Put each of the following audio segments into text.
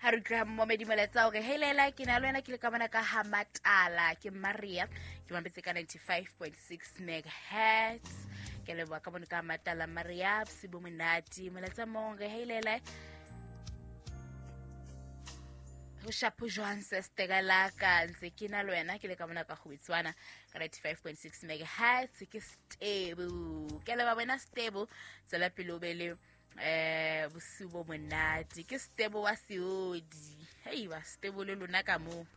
Ha re utlwa momedi molaetsa hore hey Lela, ke na le wena, ke le ka bona ka ha Matala, ke Maria, ke mametse ka 95.6 megahertz. Ke leboha ka bone ka Matala Maria, bosibo monate. Molaetsa mong re hey Lela, ho shapo jwang sesteka la ka, ntse ke na le wena, ke le ka mona ka Kgobetswana ka 95.6 megahertz, ke stable. Ke leboha wena stable, tswela pele o be le bosiu bo monate. Ke stable wa seodi. Hei ba stable le lona ka moo.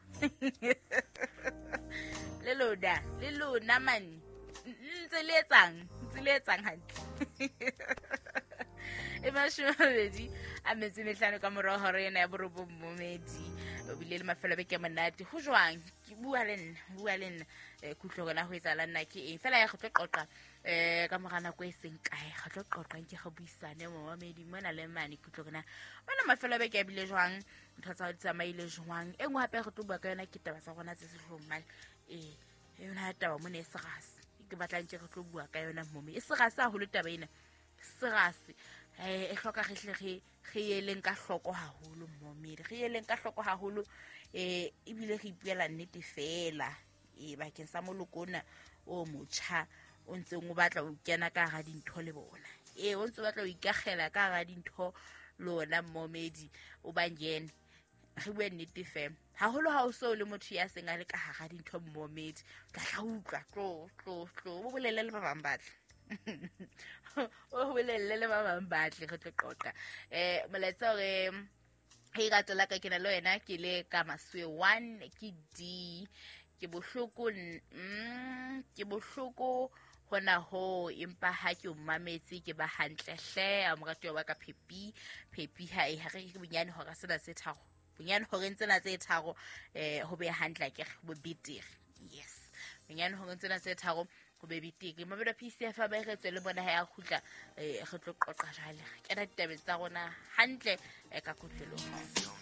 Le lona, le lona man. Ntse le etsang, ntse le etsang hantle. E 25 ka morao hora ena ya 9 momedi. O bile le mafelo a beke a monate. Ho jwang? Ke bua le nna, bua le nna. Ke utlwe hore na ho etsahala nna ke eng. Fela ya go tlo qoqa ka mora nako e seng kae, re tlo qoqa nke re buisane momamedi mona le mane. Ke utlwe hore na wena mafelo a beke a bile jwang, ntho tsa hao di tsamaile jwang. E nngwe hape re tlo bua ka yona ke taba tsa rona tse sehloohong mane. Yona taba mona e serase, ke batlang ke re tlo bua ka yona momi. E serase haholo taba ena, serase. E hloka re hle re eleng ka hloko haholo momedi, re eleng ka hloko haholo. Ebile re ipuela nnete fela. Bakeng sa moloko ona o motjha o ntseng o batla ho kena ka hara dintho le bona. O ntse o batla ho ikakgela ka hara dintho le ona momedi, o ba ngene. Re bue nnete fela. Haholo ha o so le motho ya seng a le ka hara dintho momedi, o tla tla utlwa, tlo, tlo, tlo, o bolelle le ba bang ba tle. O bolelle le ba bang ba tle, re tlo qoqa. Molaetsa hore he rato la ka ke na le wena, ke le ka Maswe 1, ke D. Ke bohloko, ke bohloko hona ho, empa ha ke o mametse ke ba hantle hle. A moratuwa wa ka Phepi, Phepi ha e ha re ke bonyane hora sena tse tharo, bonyane horeng tsena tse tharo, ho be hantle ke bo betere. Yes, bonyane horeng tsena tse tharo ho be betere. Mabelo PCF ba re tswe le bona ha ya kgutla, re tlo qoqa jwale. Re kena ditabeng tsa rona hantle, ka kutlweloho.